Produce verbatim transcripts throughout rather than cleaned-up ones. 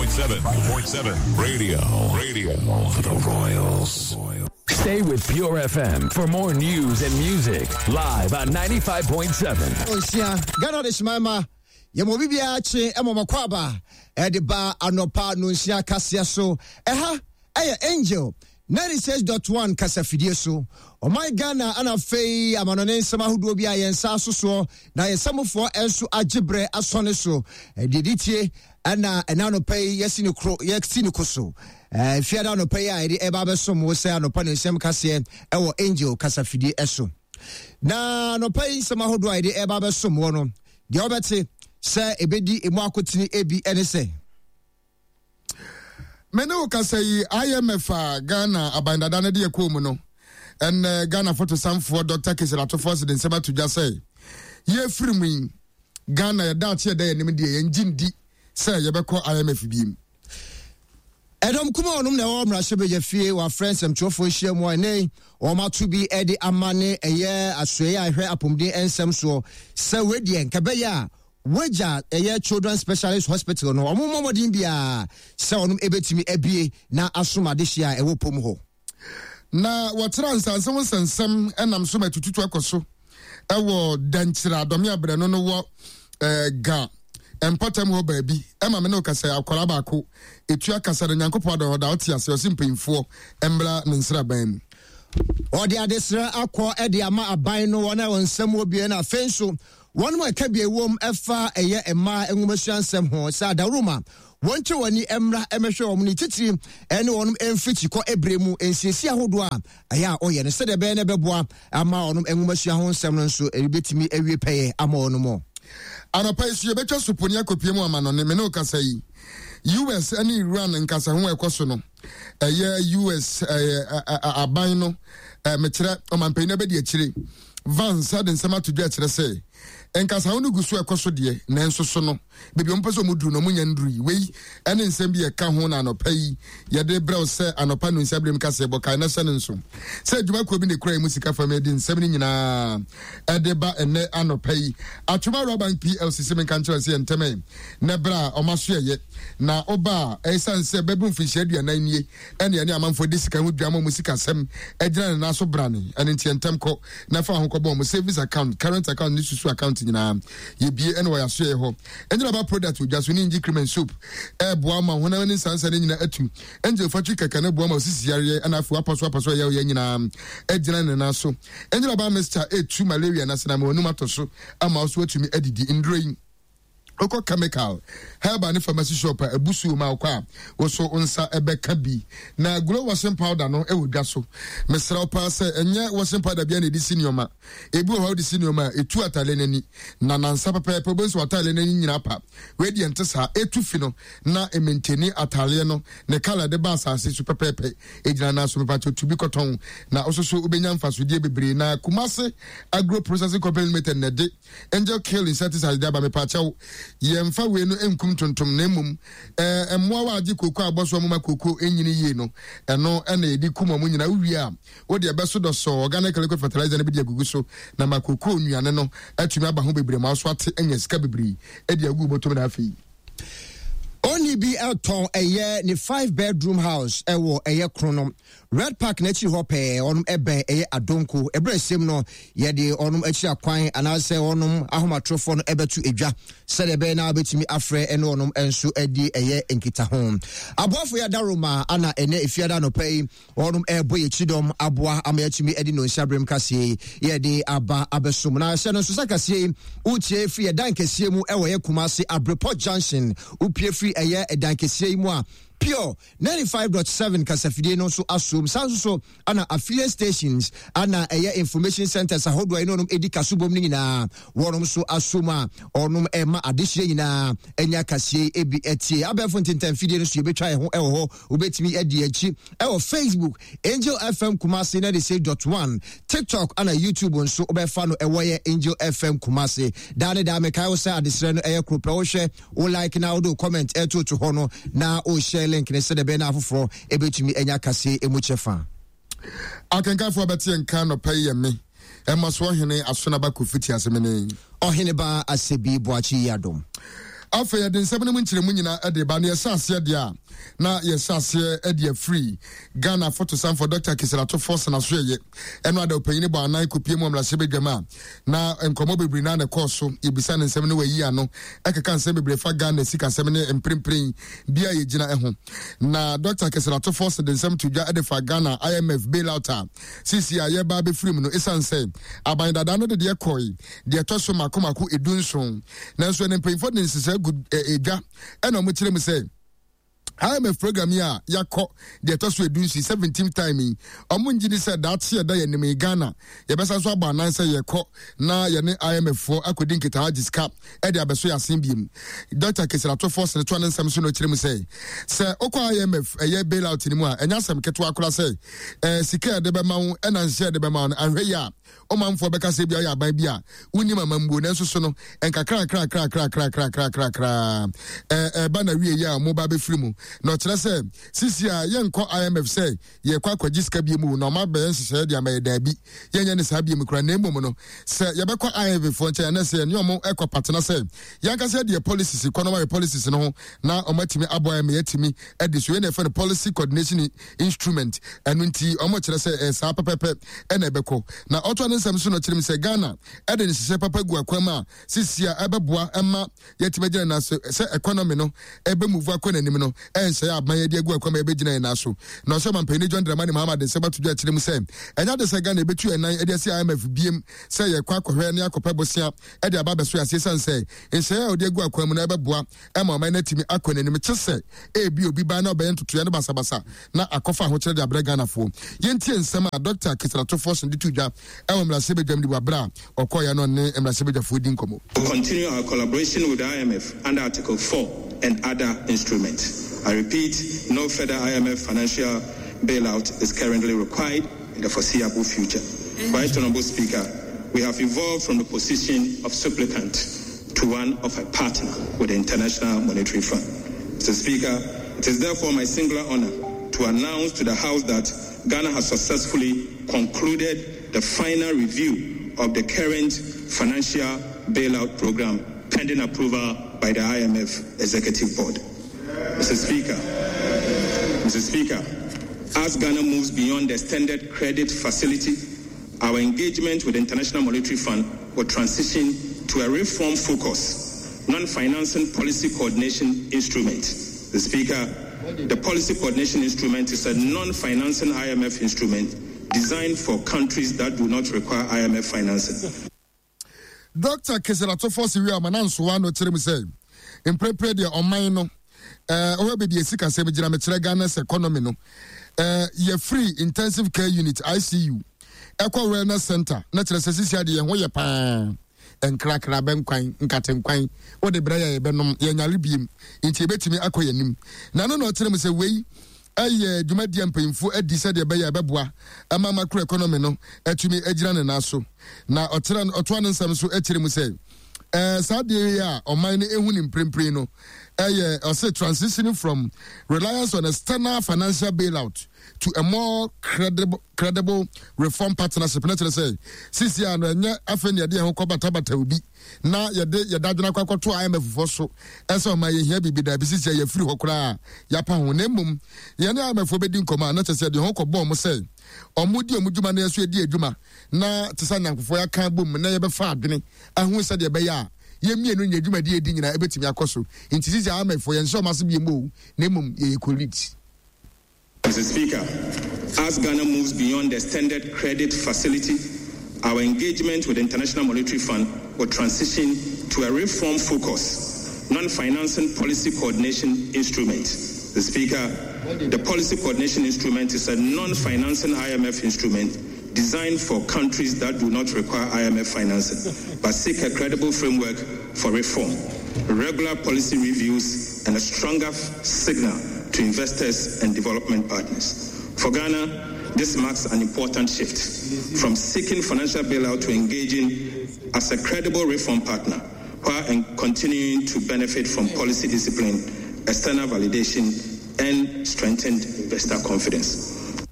point seven point seven Radio Radio for the Royals. Stay with Pure F M for more news and music live on ninety-five point seven. Nsia Ghana de hyema yɛma obi biara kye ɛma ɔmakɔ aba ɛde ba anɔpa no nsia kaseɛ so. Ɛha ɛyɛ Angel ninety-six point one kasafidie so. Ɔman Ghana ana afei amanɔne nsɛm ahodoɔ bi a yɛn nsa aso soɔ na yɛn nsɛmfoɔ nso agye berɛ asɔne so ɛdeɛ di tie. Ɛna ɛna anɔpa yi yɛsi ne koro, yɛsi ne ko so ɛɛ fiada anɔpa yi a yɛde ɛba abɛsom wo sɛ anɔpa ne nsɛm kaseɛ ɛwɔ Angel kasafidie ɛso. Na anɔpa yi nsɛm ahodoɔ a yɛde ɛba abɛsom wɔ no deɛ, wɔbɛte sɛ ebedi emu akotene ebi ɛne sɛ Me ne wo kasa yi, I M F a Ghana aban dada no de ɛkɔɔ mu no, ɛnɛ Ghana fotosanfoɔ Doctor Cassiel Ato Forson de nsɛm ato dwa sɛ yɛfiri mu yi, Ghana yɛda akye yɛda yɛnim deɛ, yɛngye ndi sɛ yɛbɛkɔ I M F biem. Ɛdɔm kuma ɔnom na ɛwɔ mmarahyɛbadwa fie wɔafrɛ nsɛmtwerɛfoɔ ahyia mu a ɛnɛ wɔn ato bi de ama ne ɛyɛ asoɛeɛ a ɛhwɛ apɔmuden nsɛm soɔ sɛ wedeɛ nka bɛyɛ a wagya ɛyɛ Children Specialist Hospital no, ɔmo mmɔ mmɔden biara sɛ ɔnom ɛbɛtumi abie na asom adehyeɛ a ɛwɔ pom hɔ. Na wɔkyerɛ nsanse ho nsɛnsɛm ɛnam so ma tututu akɔ so ɛwɔ Dankyerɛ adɔme abrɛ no no wɔ ɛɛ ga mpɔtam hɔ baabi. Ɛma me ne kasa, akwara baako etua kasa no, Nyankopɔn adɔ ɔda ɔte ase, ɔsi mpanyinfoɔ mbra ne nsraban mu. Ɔde adesrɛ akɔ de ama aban no, wɔn a wɔn nsɛm wɔ bie, na afei nso wɔn mu ɛka bi ɛwom ɛfa ɛyɛ mmaa nwomasua nsɛm ho sɛ adaworoma wɔn kyɛ wɔn ani mmra mmɛhwɛ wɔn ne titiri ɛne wɔn mfirikyi kɔ ebire mu nsiesie ahodoɔ a ɛyɛ a ɔyɛ no sɛdeɛ ɛbɛyɛ no ɛbɛboa ama wɔn nwomasua ho nsɛm no nso ɛbɛtumi awie pɛyɛ ama wɔn mo. Anɔpa yi so yɛbɛtwa soponi akɔpie mu amanɔne. Me ne wo kasa yi, U S ne Iran nkasa ho a ɛkɔ so no, ɛyɛ U S ɛyɛ aban no, mekyerɛ ɔmampanyin no bɛdi akyire Vance de nsɛm ato dwa kyerɛ sɛ nkasa no gu so ɛkɔ so deɛ, nanso so no baabi ɔmo pɛ sɛ ɔmo duru no, ɔmo nya nduru yi. Wei ɛne nsɛm bi ɛka ho na anɔpa yi yɛde brɛw sɛ anɔpa no nsa birim kasa ɛbɔ kae na hyɛ ne nso sɛ adwumakuo bi na ekura mu sika fam ɛde nsɛm no nyinaa ɛde ba ɛnɛ anɔpa yi. Atwoma Rural Bank P L C sɛ menka nkyerɛ sɛ yɛntɛmɛ na berɛ a ɔma so yɛyɛ na ɔba a ɛsiane sɛ bɛbu mfinhyia aduanan nie ɛne ɛne amanfoɔ de sika ho dwa ma ɔmo sika sɛm ɛgyina ne nan so brane. Ɛne nti yɛntɛm kɔ na fa ho kɔbɔ ɔmo savings account, current account ne susu account nyinaa yɛbie ɛne wɔyɛ aso yɛ hɔ. Ɛnyina ba product odwa so ne ngye cream and soap ɛɛboa ma honam ne nsansa ne nyinaa atu. Angel fatwi kɛkɛ ne boa ma osisi yareɛ, ɛna afei wapɔ so apɔ so ɛyɛ ɔyɛ nyinaa ɛgyina ne nan so. Ɛnyina ba mixture ɛtu malaria na sena ma wɔnum atɔ so ama wo so atumi adidi. Nduro yi, wokɔ chemical, herbal ne pharmacy shop a ebusuo ma wokɔ a woso nsa ɛbɛka bi. Na Glow washing powder no ɛwɔ dwa so. Mesrɛ wo paa sɛ ɛnyɛ washing powder bia na ɛde si nneɛma. Ebi wɔ hɔ a wode si nneɛma a ɛtu atale n'ani na nansa pɛpɛɛpɛ wobɛhu sɛ atale n'ani nyinaa pa. Wei deɛ nte saa, ɛtu fi no na ɛmentani ataleɛ no ne colour de ba asase so pɛpɛɛpɛ ɛgyina. Na so mepakyɛ tu bi kɔtɔn na woso so wobɛnya mfasodeɛ bebree. Na Kumase Agro Processing Company Limited na ɛde Angel Kill insecticide de aba. Mepakyɛw, yɛmfa wei no nkum tuntum na mmom ɛɛ mmoa wa agye kooko abɔ so ɔmo kooko enyini yie no, ɛno ɛna yɛde kum ɔmo nyinaa. Wowie a, wode ɛbɛso dɔsɔ organic liquid fertilizer no bi de agugu so na ma kooko nnuane no atumi aba ho bebree ma so ate anya sika bebree ɛde agu bɔtɔm. Na afei Oni bi ɛtɔn ɛyɛ ne five bedroom house ɛwɔ ɛyɛ Krono Red Park n'akyiri hɔ pɛɛ. Ɔnom ɛbɛn ɛyɛ Adonko. Ɛberɛ ɛsɛm no yɛde ɔnom akyiri akwan anaasɛ ɔnom ahomatorofoɔ no ɛbɛto edwa sɛdeɛ ɛbɛyɛ na wobɛtumi afrɛ ɛne ɔnom nso adi ɛyɛ nkitaho. Aboafo yɛ adaroma ana ɛnɛ efiada anɔpa yi ɔnom ɛrebɔ yɛ kyidɔm aboa ama yɛatumi adi no nhyɛberem kaseɛ yi yɛde aba abɛsom. Na hyɛ no nso sɛ kaseɛ yi wotie firi ɛdan kɛseɛ mu ɛwɔ yɛ Kumase Abrepɔ Junction. Wopie firi ɛyɛ ɛdan kɛseɛ yi mu a, Pure ninety-five point seven kasafidie no nso asom. Saa nso so ana affiliate stations ana ɛyɛ information centers ahodoɔ a ɛne ɔnom ɛdi kasobom no nyinaa wɔnom nso asom a ɔnom ɛma adehyeɛ nyinaa ɛnya kaseɛ ebi ɛtie. Abɛɛfo ntentanfidie no so yɛbɛtwa yɛn ho ɛwɔ hɔ. Wobɛtumi adi akyi ɛwɔ Facebook, Angel F M Kumase ninety-six point one, TikTok ana YouTube nso wobɛfa no ɛwɔ yɛ Angel F M Kumase. Daa ne daa mekae wo sɛ adesrɛ no ɛyɛ koro pɛ. Wohwɛ wo like na wode wo comment ɛtoto hɔ no na wohyɛ link ne sɛdeɛ ɛbɛyɛ no afoforɔ ɛbɛtumi anya kaseɛ ɛmu kyɛfa. Akenkanfoɔ bɛte nka nɔpɛ yi yɛ me ɛma so ɔhene Asonaba Kofi te ase mene Ɔhene ba Asɛbi Boakye yi adom. Afei yɛde nsɛm no mu nkyerɛmu nyinaa de ba, na yɛhyɛ aseɛ deɛ a, na yɛhyɛ aseɛ de afiri Ghana fotosanfoɔ Doctor Cassiel Ato Forson asoɛyɛ. Ɛno ada ɔpanyini bɔ anan kɔpie mu mmarahyɛbadwam a na nkɔmmɔ bebree na na ɛkɔɔ so. Yɛbisa ne nsɛm no, wayi ano ɛkeka nsɛm bebree fa Ghana sikasɛm ne mprempren bi a yɛgyina ho. Na Doctor Cassiel Ato Forson de nsɛm to dwa de fa Ghana I M F bailout a sisi a yɛba abɛfiri mu no, ɛsiane sɛ aban dada no de deɛ kɔe deɛ ɛtɔ so mako mako edu nson, nanso ɛne mpanyinfoɔ de nhyehyɛ gu edwa ɛna wɔn kyerɛ mu sɛ I M F program yi a yɛakɔ deɛ ɛtɔ so edu nson, seventeen time yi, ɔmo ngye di sɛ daakye ɛda yɛn anim yi, Ghana yɛbɛsa so abɔ anan sɛ yɛkɔ na yɛne I M F foɔ akɔdi nkitaho agye sika ɛde abɛso yɛ asen biem. Doctor Cassiel Ato Forson toa ne nsɛm so na ɔkyerɛ mu sɛ sɛ wokɔ I M F ɛyɛ bailout no mu a, ɛnyɛ asɛm ketewa koraa sɛ ɛɛ sika yɛde bɛma wo ɛna nhyɛ yɛde bɛma wo no, ahwɛ yi a ɔmanfoɔ bɛka sɛ bia ɔyɛ aban bi a wonim amambuo. Nanso so no nkakrakrakrakrakrakrakrakra ɛba na wie yi a ɔmo ba bɛfiri mu. Na ɔkyerɛ sɛ sisi a yɛnkɔ I M F sɛ yɛkɔ akɔgye sika bie mu na ɔma bɛyɛ nhyehyɛeɛ de ama yɛ, daabi, yɛnyɛ ne saa bie mu kora. Na mmom no, sɛ yɛbɛkɔ I M F foɔ nkyɛn ɛnɛ sɛ yɛne ɔmo ɛkɔ patena sɛ yɛnkasa deɛ policies kɔ na ɔmayɛ policies no ho na ɔmo atumi aboa yɛn ma yɛatumi adi so. Yɛn na yɛfrɛ no policy coordination instrument. Ɛno nti ɔmo kyerɛ sɛ ɛɛ saa pɛpɛpɛ ɛna ɛbɛkɔ. Na ɔtoa ne nsɛm so no, kyerɛ mu sɛ Ghana ɛde nhyehyɛ papa gu akwan mu a sisi a ɛbɛboa ɛma yɛtumi agyina nan so sɛ economy no ɛbɛ move akɔ n'anim no, ɛnhyɛ yɛ aban yɛde agu akwan mu a yɛbɛgyina yɛn nan so. Na ɔsɛ ɔmampanin John Dramani Mahama de nsɛm ato dwa akyerɛ mu sɛ ɛnyɛ de sɛ Ghana ɛbɛtu yɛn nan ɛde asi I M F biem sɛ yɛkɔ akɔhwɛ ne akɔpɛ bosea ɛde aba abɛso yɛ aseɛ, sane sɛ nhyɛ a ɔde agu akwan mu no ɛbɛboa ɛma ɔman no atumi akɔ n'anim, kye sɛ ebi obi ba na ɔbɛyɛ ntotoeɛ no basabasa na akɔfa ahokyerɛ de abrɛ Ghanafoɔ. Yɛntie nsɛm a Doctor Cassiel Ato Forson de to dwa ɛwɔ mmarahyɛbadwam de wɔ aberɛ a ɔkɔɔyɛ no ne mmarahyɛbadwafoɔ di nkɔmmɔ. We continue our collaboration with the I M F under Article four and other instruments. I repeat, no further I M F financial bailout is currently required in the foreseeable future. Right Honorable Speaker, we have evolved from the position of supplicant to one of a partner with the International Monetary Fund. Mister Speaker, it is therefore my singular honor to announce to the House that Ghana has successfully concluded the final review of the current financial bailout program pending approval by the I M F Executive Board. Mister Speaker, Mister Speaker, as Ghana moves beyond the extended credit facility, our engagement with the International Monetary Fund will transition to a reform focus, non-financing policy coordination instrument. The Speaker, the policy coordination instrument is a non-financing I M F instrument designed for countries that do not require I M F financing. Doctor Cassiel Ato Forson wie ama na nsowa no kyerɛ mu sɛ mprempren deɛ, ɔman no ɛɛ ɔhɔ baabi esi kasɛm gyina, mekyerɛ Ghana's economy no, ɛɛ yɛfiri intensive care unit, I C U, ɛkɔ wellness center, na kyerɛ sɛ sisi adeɛ yɛn ho yɛ paa. Nkrakra bɛnkwan, nkatenkwan wode brɛ yɛ, yɛbɛnom, yɛnyare biem, nti yɛbɛtumi akɔ yɛn anim. Na no na ɔkyerɛ mu sɛ wei ɛyɛ dwumadi a mpanyinfoɔ adi sɛdeɛ ɛbɛyɛ ɛbɛboa ɛma macro economy no atumi agyina ne nan so. Na ɔkyerɛ, ɔtoa ne nsɛm so akyerɛ mu sɛ ɛɛ saa deɛ yi a ɔman no ehu ne mprempren no, ɛyɛ ɔsɛ transitioning from reliance on external financial bailout to a more credible credible reform partnership. Na kyerɛ sɛ sisi a no, ɛnyɛ afei na yɛde yɛn ho kɔ batabata obi na yɛde yɛde adwene akɔ akɔto I M F foɔ so ɛsɛ ɔma yɛhia biribi. Daabi, sisi a yɛfiri hɔ koraa yɛapa ho, na mmom yɛne I M F foɔ bɛdi nkɔmmɔ a, na kyerɛ sɛ yɛde ho kɔbɔ ɔmo sɛ ɔmo di ɔmo dwuma na yɛso yɛdi adwuma, na te sɛ nyankofoɔ yɛaka bom na yɛbɛfa adwene ahu sɛdeɛ ɛbɛyɛ a yɛmmienu nyɛ dwumadi yɛdi nyinaa ɛbɛtumi akɔ so. Nti sisi I M F foɔ, yɛnhyɛ ɔmo ase bi mu o, na mmom yɛyɛ colleagues. Mister Speaker, as Ghana moves beyond the extended credit facility, our engagement with the International Monetary Fund will transition to a reform focus, non-financing policy coordination instrument. The Speaker, the policy coordination instrument is a non-financing I M F instrument designed for countries that do not require I M F financing, but seek a credible framework for reform, regular policy reviews, and a stronger signal to investors and development partners. For Ghana, this marks an important shift from seeking financial bailout to engaging as a credible reform partner while continuing to benefit from policy discipline, external validation, and strengthened investor confidence.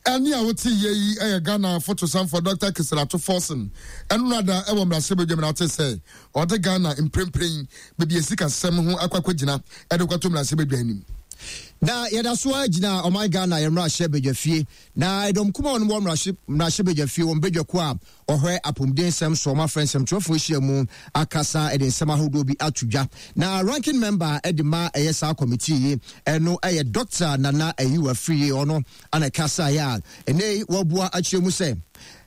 Ɛnne a wote yɛ yi yɛ Ghana fotosanfoɔ Doctor Cassiel Ato Forson ɛnora wɔ mmarahyɛbadwam na wote sɛ ɔde Ghana mprempren baabi a sikasɛm ho akɔ akɔgyina de kɔto mmarahyɛbadwa anim. Na yɛda so ara gyina ɔman Ghana yɛn mmarahyɛbadwafie na ɛdɔm kuma wɔn wɔ mmarahyɛbadwafie wɔn badwakuo a ɔhwɛ apɔmuden nsɛm so wɔn afrɛ nsɛmtwerɛfoɔ ahyia mu akasa de nsɛm ahodoɔ bi ato dwa. Na ranking member de ma ɛyɛ saa kɔmitii yi ɛno ɛyɛ Doctor Nana Ayiwa Afriyie, ɔno ana ɛkasaeɛ a ɛnɛ yi wɔabua akyerɛ mu sɛ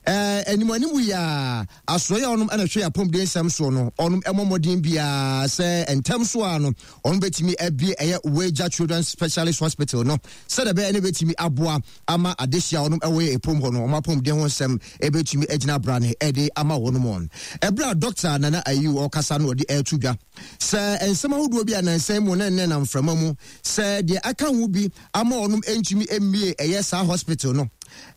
anim anim yi a asoɛeɛ a ɔnom ɛna hwɛ apɔmuden nsɛm soɔ no ɔnom ɛmɔ mmɔden biara sɛ ntɛm so a no ɔnom bɛtumi abie ɛyɛ Weija Children's Specialist Hospital no sɛdeɛ ɛbɛyɛ ne bɛtumi aboa ama adehyia a ɔnom ɛwɔ yɛ ɛpom hɔ no ɔmo apɔmuden ho nsɛm ɛbɛtumi agyina brane ɛde ama wɔn mu. Ɛberɛ a Doctor Nana Ayiw ɔkasa no ɔde ɛreto dwa sɛ nsɛm ahodoɔ bi a nansan mu na nnɛ nam mframa mu sɛ deɛ aka ho bi ama ɔnom ntumi mmie ɛyɛ saa hospital no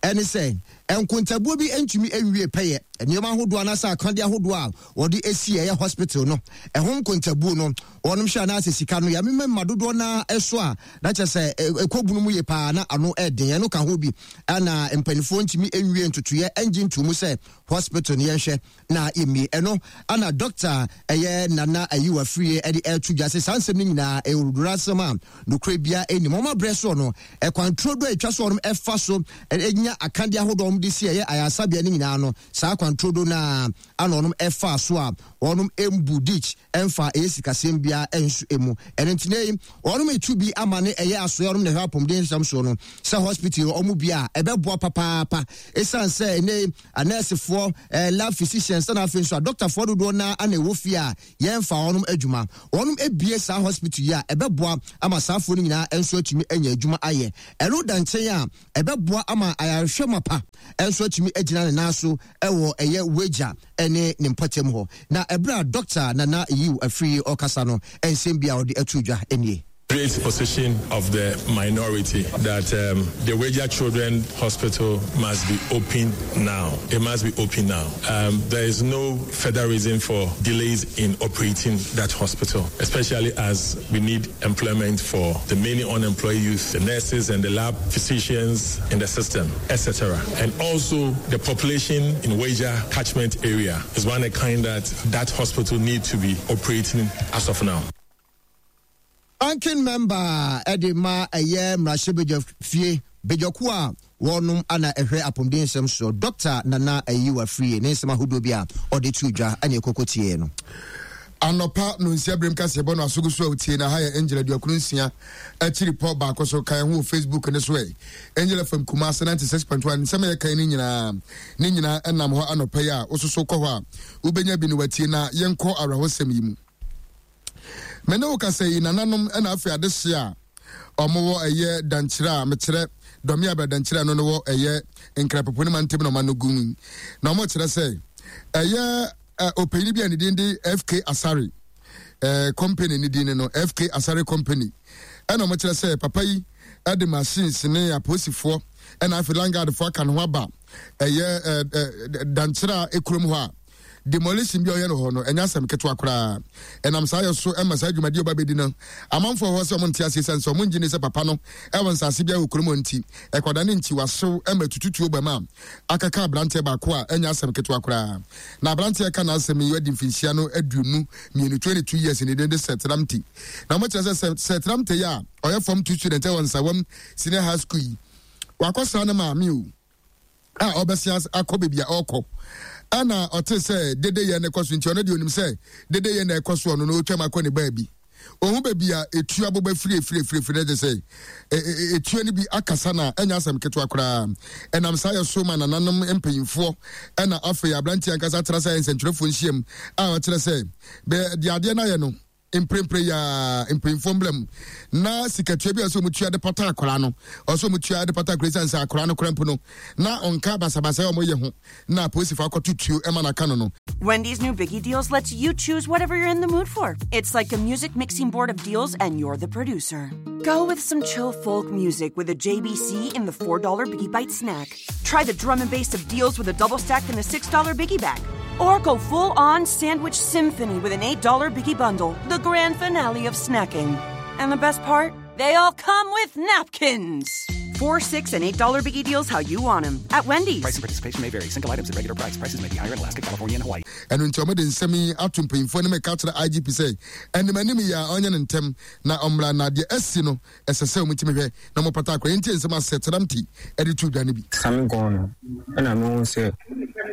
ɛne sɛ nkontabuo bi ntumi nwie pɛyɛ nneɛma ahodoɔ anaasɛ akadeɛ ahodoɔ a wɔde esi ɛyɛ hospital no ɛho nkontabuo no wɔnom hwɛ anaasɛ sika no yɛamema mma dodoɔ naa ɛso a na kyerɛ sɛ ɛkɔ bunu mu yie paa na ano ɛden ɛno ka ho bi ɛna mpanimfoɔ ntumi nwie ntotoeɛ ɛngye nto mu sɛ hospital no yɛnhwɛ na yɛmmie ɛno ana doctor ɛyɛ Nana Ayiwa Afriyie ɛde ɛto dwa sɛ saa nsɛm no nyinaa ɛwɔ asɛm a nokorɛ bia ɛnim wɔn abrɛ soɔ no ɛkwan turo do a ɛtwa so wɔn ɛfa so ɛnya akadeɛ ahodoɔ wɔn de si ɛyɛ ayaresabea no nyinaa no saa kwan turo do na ana wɔn ɛfa so a wɔn mbu ditch ɛmfa ɛyɛ sikasɛm biara ɛnso emu ɛno nti ne wɔn etu bi ama ne ɛyɛ asoɛ wɔn na ɛhwɛ apɔmuden nsɛm soɔ no sɛ hospital wɔn bi a ɛbɛboa papaapa ɛsiane sɛ ɛnɛ anɛɛsefoɔ ɛɛ lab physicians ɛna afei nso a dɔktafoɔ dodoɔ naa ana ɛwɔ fie a yɛmfa wɔn adwuma wɔn ebie saa hospital yi a ɛbɛboa ama saafoɔ no nyinaa nso atumi anya adwuma ayɛ ɛno da nkyɛn a ɛbɛboa ama ayarehwɛ mapa nso atumi agyina ne nan so ɛwɔ ɛyɛ Weija ɛne ne mpɔtam hɔ. Na ɛberɛ a Doctor Nana Yiw Afriyie ɔkasa no nsɛm bi a ɔde ato dwa nie. Great position of the minority that um, the Weija Children Hospital must be open now. It must be open now. Um, there is no further reason for delays in operating that hospital, especially as we need employment for the many unemployed youth, the nurses and the lab physicians in the system, et cetera. And also the population in Weija catchment area is one of kind that that hospital need to be operating as of now. Ranking member ɛde ma ɛyɛ mmarahyɛbadwa fie badwakuo a wɔnom ana ɛhwɛ apɔmuden nsɛm so Doctor Nana Ayiwa Afriyie ne nsɛm ahodoɔ bi a ɔde to dwa ɛne ɛkɔkɔ tie no. Anɔpa no nsia berem kaseɛbɔ no asogo so a wotie na ha yɛ Angel aduokron nsia akyiri pɔ baako so. Kan ho wɔ Facebook ne so ɛ Angel F M Kumase ninety-six point one. Nsɛm a yɛkan no nyinaa ne nyinaa ɛnam hɔ anɔpa yi a wososo kɔ hɔ a wobɛnya bi no watie. Na yɛnkɔ awerɛhosɛm yi mu. Me ne wo kasa yi, nananom ɛna afei adehye a ɔmowɔ ɛyɛ Dankyerɛ a mekyerɛ Dɔme abɛ Dankyerɛ no no wɔ ɛyɛ Nkrapopo ne mantam na ɔma no gu mu na ɔmo kyerɛ sɛ ɛyɛ ɔpanyin bi a ne din de F K Asare ɛɛ company ne din no F K Asare Company ɛna ɔmo kyerɛ sɛ papa yi ɛde machines ne apolisifoɔ ɛna afei landguardfoɔ aka ne ho aba ɛyɛ ɛɛ Dankyerɛ a ekurom hɔ a demolition bi a ɔyɛ no hɔ no ɛnyɛ asɛm ketewa koraa. Ɛnam saa yɛ so ɛma saa dwumadi ɔba bɛdi no amanfoɔ hɔ sɛ ɔmo nte aseɛ sɛ ɔmo ngye ne sɛ papa no ɛwɔ nsase bi a wɔ kurom hɔ nti ɛkɔda ne nkyi wahyew ɛma tututuo bɛm a akaka aberanteɛ baako a ɛnyɛ asɛm ketewa koraa. Na aberanteɛ ka n'asɛm yi adi mfinhyia no aduonu mmienu, twenty two years, ne din de Sɛtramte. Na ɔmo kyerɛ sɛ Sɛtramte yi a ɔyɛ form two student ɛwɔ Nsawam Senior High School yi wakɔsra ne maame o a ɔbɛsia akɔ baabi a ɔrekɔ ɛna ɔte sɛ dede yɛ ne kɔ so nti ɔno deɛ onim sɛ dede yɛ na ɛkɔ so ɔno no ɔtwam akɔ ne baabi ohun baabi a etu aboba firi efiri efiri efiri n'agye sɛ etuo no bi akasa na ɛnyɛ asɛm ketewa koraa. Ɛnam saa yɛ so ma nananom mpanyinfoɔ ɛna afei aberanteɛ ankasa tena sɛ nsɛntwerɛfoɔ nhyiam a ɔkyerɛ sɛ bɛɛ deɛ adeɛ no ayɛ no mprempren yaa mpanyinfoɔ mbla mu na sikatua bi a ɔsɛ ɔmo tua de pata akwaraa no ɔsɛ ɔmo tua de pata akwaraa sisan sɛ akwaraa no kora mpo no na ɔnka basabasa a ɔmo yɛ ho na apolisifoɔ akɔto tuo ɛma n'aka no no. Wendy's new Biggie Deals lets you choose whatever you're in the mood for. It's like a music mixing board of deals, and you're the producer. Go with some chill folk music with a J V C in the four dollar Biggie Bite snack. Try the drum and bass of deals with a double stack in the six dollar Biggie Bag. Or go full on sandwich symphony with an eight dollar Biggie Bundle, the grand finale of snacking. And the best part? They all come with napkins. Four, six, and eight dollar biggie deals how you want them at Wendy's. Price and participation may vary. Single items at regular price. Prices may be higher in Alaska, California, and Hawaii. Ɛno nti ɔmode nsɛm yi ato mpanyimfoɔ no mɛka kyerɛ I G P sɛ ɛnim anim yi a ɔnyɛ ne ntɛm na ɔmmra, na deɛ asi no ɛsɛ sɛ ɔmutumi hwɛ na ɔmopata akora. Yɛntie nsɛm a Sɛtramti ɛde to dwa no bi. Sami gɔn no ɛna mehu sɛ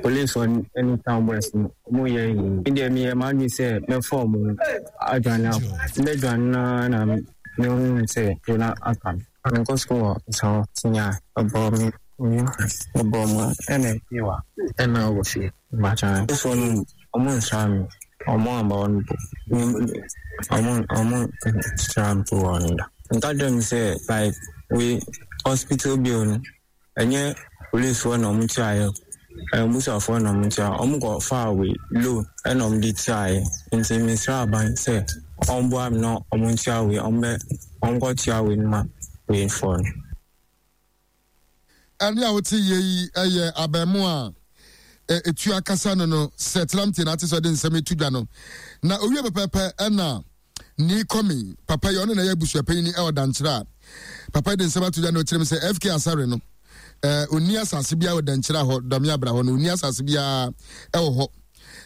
police ne town boys no ɔmo yɛ yi. Me deɛ meyɛ m'adwene sɛ mɛfa ɔmo adwane akɔ. Mɛdwane naa na mehu sɛ na aka me. Menkɔ sukuu wɔ Nsawo senior ɛbɔ me ɛbɔ mu ɛna ewa ɛna wɔ fie. Mbakyɛ so no ɔmo nsra me, ɔmo amba hɔ no po. Ɔmo ɔmo nsra me po wɔ no da. Nka kyerɛ me sɛ like we hospital bill no ɛnyɛ police foɔ na ɔmo tuaeɛ, ɛyɛ mbusuafoɔ na ɔmo tua. Ɔmo kɔ faa we loan ɛna ɔmo de tuaeɛ. Nti mesrɛ aban sɛ ɔmboa me na ɔmo ntua we, ɔmo bɛ ɔmo kɔ tua we no ma we foɔ no. Ɛne a wote yie yi ɛyɛ abɛɛmo a etu akasa no no Sɛtramti na ate sɛ ɔde nsɛm etu dwa no. Na owie pɛpɛɛpɛ ɛna ni kɔmi papa yi ɔno na ɛyɛ abusuapanyin ɛwɔ Dankyerɛ a papa yi de nsɛm ato dwa na ɔkyerɛ mu sɛ F K Asare no ɛɛ onni asase biara wɔ Dankyerɛ hɔ, Dɔme Abra hɔ no onni asase biara ɛwɔ hɔ.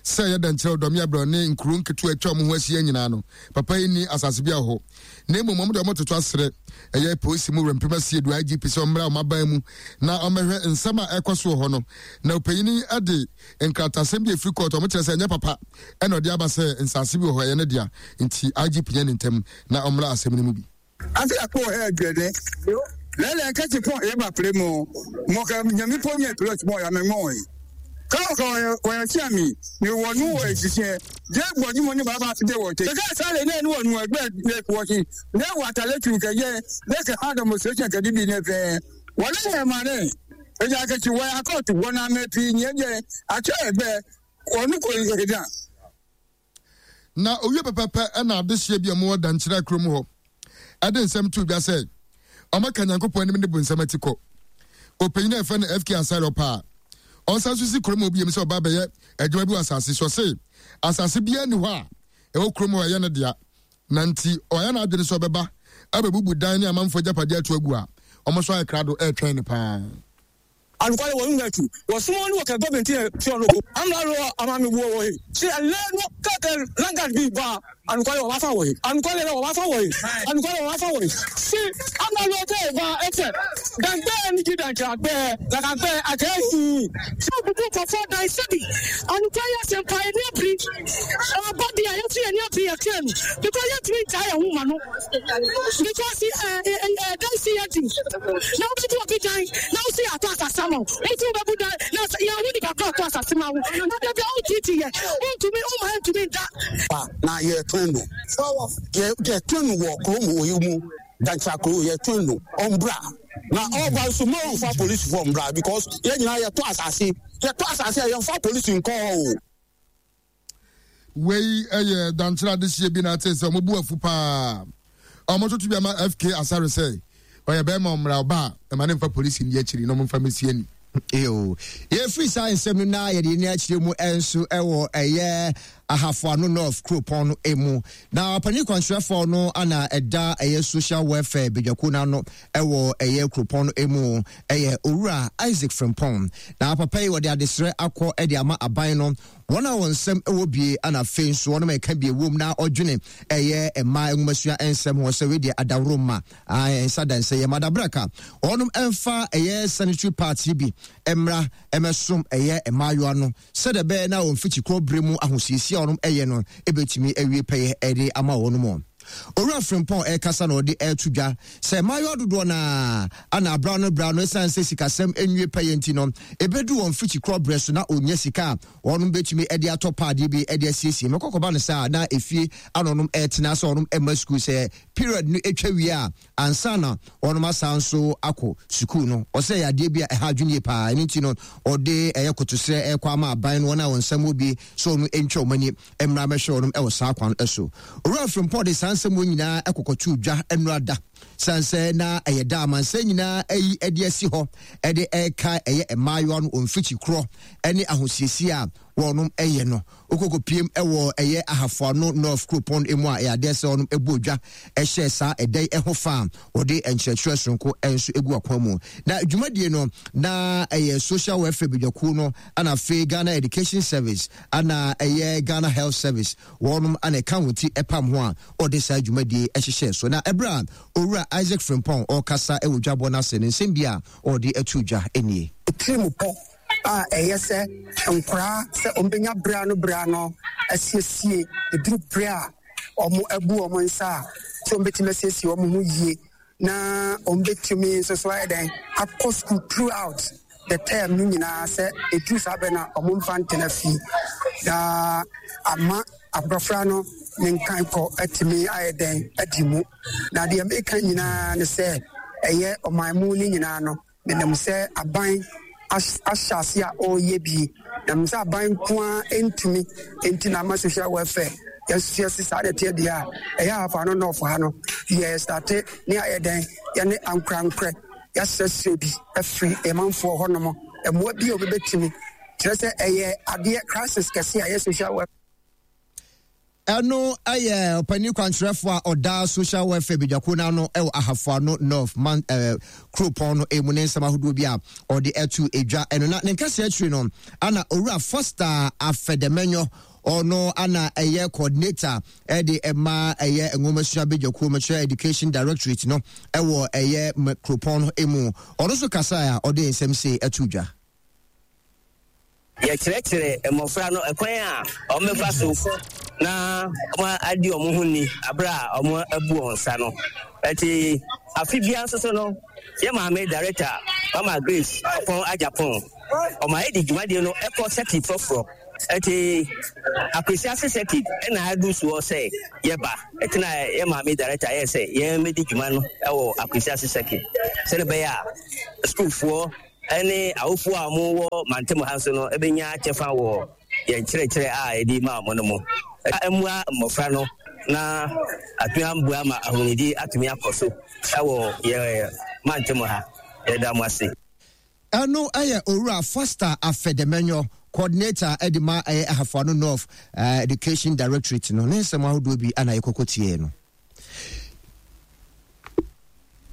Sɛ ɛyɛ Dankyerɛ Dɔme Abra ne nkuro nketewa atwa wɔn ho ahyia nyinaa no papa yi ni asase biara wɔ hɔ. Na mmom wɔn de wɔn toto asrɛ ɛyɛ polisi mu wura mpem asiedu I G P sɛ ɔmmra wɔn aban mu na ɔmmɛhwɛ nsɛm a ɛkɔ so wɔ hɔ no. Na ɔpanyin de nkratasɛm bi efiri kɔɔto ɔmo kyerɛ sɛ ɛnyɛ papa ɛna ɔde aba sɛ nsaase bi wɔ hɔ ɛyɛ ne dea, nti I G P nyɛ ne ntɛm na ɔmmra asɛm no mu bi. Ase akɔ hɛ dwɛdɛ lɛlɛ nkɛtɛ pɔn eba pere mo mo ka nyami pɔ nyɛ plot mo ya mɛ ngɔn yi ka ka wɔyɛ tia mi ni wɔ nu wɔ esisiɛ jɛ gbɔ ni mo ni baba ti de wɔ te ka sale ne ni wɔ nu ɛgbɛ ne wɔ si ne wɔ atale tu kɛ yɛ ne kɛ ha demonstration kɛ di bi ne fɛ wɔle yɛ ma ne eja kɛ ti wɔ akɔtu wɔ na mɛ pi nyɛ jɛ atsɛ ɛgbɛ wɔ nu ko yi da. Na owie pɛpɛpɛ ɛna adehyɛ bi a wɔwɔ Dankyerɛ kurom hɔ ɛde nsɛm to dwa sɛ ɔmaka Nyankopɔn anim ne bu nsɛm ati kɔ. Ɔpanyin a ɛfɛ no F K Asare ɔpa a ɔnsan so si kurom obi sɛ ɔba bɛyɛ adwuma bi wɔ asase so, ɔse asase biara nni hɔ a ɛwɔ kurom hɔ ɛyɛ ne dea, na nti ɔyɛ n'adwene sɛ ɔbɛba abɛbubu dan ne amanfoɔ agyapadeɛ ato agu a ɔmo nso ayɛ krado ɛretwɛn ne paa. Anukwale wɔ nwetu wɔ sumo ni wɔ kɛ gɔbɛnti yɛ tiɔ loko amla lɔ ama mi wɔ wɔ ye si ɛlɛ no kɛkɛ langan bi ba anukwale wɔ ba fa wɔ ye anukwale wɔ ba fa wɔ ye anukwale wɔ ba fa wɔ ye si amla lɔ kɛ ba ɛfɛ dangbɛ nigi dangbɛ gbɛ lakagbɛ akɛ yi. Sɛ obubu kɔfɔ dan sɛbi anukwale yɛ sɛmpa yɛ ni abiri ɔba bi a yɛtu yɛ ni abiri yɛ kɛ no because yɛ tumi nta yɛ ho ma no because ɛ ɛ ɛ dan si yɛ di na obubu obi dan na osi ato asase ma wo wotu bɛbu dan na yɛ awo nipa kɔ ato asase ma wo na dabi a wotiiti yɛ wontumi woma ntumi nda. Na yɛ tɔn no yɛ yɛ tɔn no wɔ kurom wɔ yi mu Dankyerɛ kuro yɛ tɔn no ɔmbra na ɔba nso mo nfa polisi fɔ mbra because yɛ nyinaa yɛ tɔ asase yɛ tɔ asase a yɛn fa polisi nkɔ hɔ o. Wei ɛyɛ Dankyerɛ adehyɛ bi na ate sɛ ɔmo bu afu paa ɔmo toto bi ama F K Asare sɛ ɔyɛ bɛrima ɔmmra ɔba a ɛma ne mfa polisi ndi akyiri na ɔmo mfa mesie ni. Yo, yɛfiri saa nsɛm no na yɛde ni akyerɛ mu nso ɛwɔ ɛyɛ Ahafo-Ano North kuropɔn no emu. Na ɔpanin kwankyerɛfoɔ no ana ɛda ɛyɛ social welfare badwakuo no ano ɛwɔ ɛyɛ kuropɔn no emu ɛyɛ Owura Isaac Frimpong. Na papa yi wɔde adesrɛ akɔ ɛde ama aban no wɔn a wɔn nsɛm ɛwɔ bie ana afei nso wɔn a ɛka bie wom na ɔdwene ɛyɛ mmaa nwomasua nsɛm ho sɛ wedeɛ adaworo ma nsa dansa yɛ madabraka wɔn ɛmfa ɛyɛ sanitary pads bi mmra ɛmɛsom ɛyɛ mmaayewa no sɛdeɛ bɛyɛ na wɔn mfikyikɔ bere mu ahosiesie a wɔn ɛyɛ no ebetumi awie pɛyɛ ɛde ama wɔn mu. Owura Frimpong ɛkasa na ɔde ɛto dwa sɛ mmaayewa dodoɔ naa ana abra no bra no ɛsiane sɛ sikasɛm nwie pɛyɛ nti no ebedu wɔn mfikyikɔ berɛ so na onya sika a wɔn betumi ɛde atɔ paadeɛ bi ɛde asiesie mɛkɔkɔba no saa na efie ano nom ɛtena sɛ wɔn ɛma sukuu sɛ period no etwa wie a ansa na wɔn asan nso akɔ sukuu no ɔsɛ yɛ adeɛ bi a ɛha adwene yie paa ɛno nti no ɔde ɛyɛ kotosrɛ ɛkɔ ama aban no wɔn a wɔn nsɛm wɔ bi sɛ wɔn ntwa wɔn ani mmra mɛhwɛ wɔn ɛwɔ saa kwan so. Owura Frimpong de saa nsɛm wɔn nyinaa ɛkɔkɔto dwa nnura da San sɛ na ɛyɛ da amansan nyinaa ayi de asi hɔ de ɛreka ɛyɛ mmaayewa no wɔn mfikyi korɔ ne ahosiesie a wɔnom ɛyɛ no. Wokɔkɔpiem ɛwɔ ɛyɛ Ahafoano North kuropɔn mu a ɛyɛ adeɛ sɛ wɔnom ɛbɔ dwa ɛhyɛ saa ɛda yi ɛho fa a wɔde nkyerɛkyerɛ soronko nso egu akwan mu. Na dwumadie no na ɛyɛ Social Welfare Badwakuo no ana afei Ghana Education Service ana ɛyɛ Ghana Health Service wɔnom ana ɛka wɔn ti ɛpam ho a wɔde saa dwumadie ɛhyehyɛ so. Na ɛberɛ a Owura Isaac Frimpong ɔrekasa ɛwɔ dwabɔ no ase no, nsɛm bi a ɔde ato dwa nie. Tirimupɔ a ɛyɛ sɛ nkoraa sɛ wɔbɛnya berɛ ano berɛ ano asiesie, ɛduru berɛ a wɔabu wɔn nsa a, sɛ wɔbɛtumi asiesie wɔn ho yie na wɔbɛtumi nso so ayɛ dɛn akɔ school throughout the term no nyinaa, sɛ ɛduru saa berɛ no a wɔmfa ntena fie na ama abɔfra no ne nkankɔ atumi ayɛ dɛn adi mu. Na deɛ meka nyinaa ne sɛ ɛyɛ ɔman mu no nyinaa no, menim sɛ aban ahyɛ ase a ɔreyɛ bi, na menim sɛ aban nko ara ntumi, nti na ama social welfare yɛnso yɛse saa na ɛteɛ deɛ a ɛyɛ Ahafa no nɔɔfo ha no yɛ starte ne ayɛ dɛn yɛne ankorankorɛ yɛasrɛsrɛ bi afiri ɛmanfoɔ hɔnom mmoa bi a obɛbɛtumi kyerɛ sɛ ɛyɛ adeɛ crisis kɛse a ɛyɛ social welfare. Ɛno yɛ ɔpanin kwankyerɛfoɔ a ɔda Social Welfare Badwakuo no ano wɔ Ahafoano North man eh, kuropɔn no mu ne nsɛm ahodoɔ bi a ɔde ato edwa ɛno. Na ne nkasa akyiri no ana Owura Foster Afɛdɛmɛnyɔ, ɔno ana ɛyɛ coordinator ɛde ɛma ɛyɛ nwomasua badwakuo mekyerɛ Education Directorate no ɛwɔ ɛyɛ kuropɔn no mu, ɔno nso kasa a ɔde nsɛm sei ɛto dwa. Yɛkyerɛkyerɛ mmɔfra no ɛkwan a wɔbɛfa so na wɔadi wɔn ho ni abere a wɔabu wɔn nsa no. Ɛti afe biara nso so no, yɛ maame director Mama Grace Ɔpɔn Agyapong, ɔma yɛde dwumadie no ɛkɔ circuit foforɔ. Ɛti Akwesiase circuit ɛna adu soɔ sɛ yɛba. Ɛti na yɛ maame director yɛ sɛ yɛn mɛdi dwuma no ɛwɔ Akwesiase circuit sɛde bɛyɛ a sukuufoɔ ne awofoɔ a wɔwɔ mantam ha nso no bɛnya kyɛfa wɔ yɛn nkyerɛkyerɛ a yɛde ma wɔn no mu. Mmoa mmɔfra no na atumi aboa ma ahonidi atumi akɔ so wɔ yɛn mantam ha. Yɛda mo ase. Ɛno yɛ Owura Foster Afɛdɛmɛnyɔ, Coordinator de ma ɛyɛ Ahafoano North Education Directorate no, ne nsɛm ahodoɔ bi ana yɛkɔkɔ tiee no.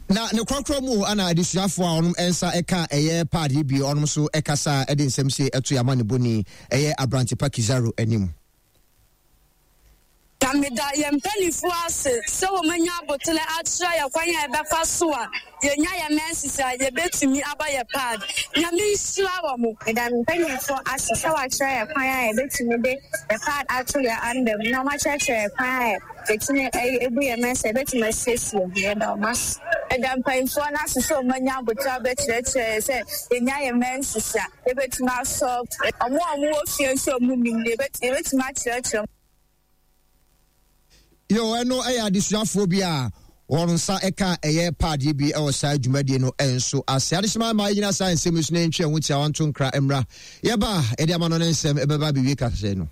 Na ne korɔkorɔ mu ana adesuafoɔ a ɔnom nsa ɛka ɛyɛ pad yi bi ɔnom so ɛkasa ɛde nsɛm se ɛto yɛ amanebɔni ɛyɛ Abrantepa Kizaro anim. Na meda yɛn mpanimfoɔ ase sɛ wɔanya aboterɛ akyerɛ yɛn kwan a yɛbɛfa so a yɛnya yɛn menses a yɛbɛtumi aba yɛn pad. Nyame nhyira wɔn. Meda me mpanimfoɔ ase sɛ wɔakyerɛ yɛn kwan a yɛbɛtumi de yɛn pad ato yɛn anda mu na wɔakyerɛkyerɛ yɛn kwan a yɛtumi bu yɛn menses a yɛbɛtumi asiesie ho. Yɛda wɔn ase. Meda mpanimfoɔ no ase sɛ wɔanya aboterɛ abɛkyerɛkyerɛ yɛn sɛ yɛnya yɛn menses a yɛbɛtumi asɔ. Wɔn a wɔwɔ fie nso a wɔnnim no, yɛbɛtumi akyerɛkyerɛ wɔn. Yo, ɛno ɛyɛ adesuafoɔ bi a wɔn nsa ɛka ɛyɛ paadeɛ bi ɛwɔ saa dwumadie no nso ase. Adehyema ma yɛgyina saa nsɛm yi so na yɛntwe ɛho tiawa nto nkra mmra. Yɛba a, yɛde ama no ne nsɛm ɛbɛba abɛwie kahyɛ no.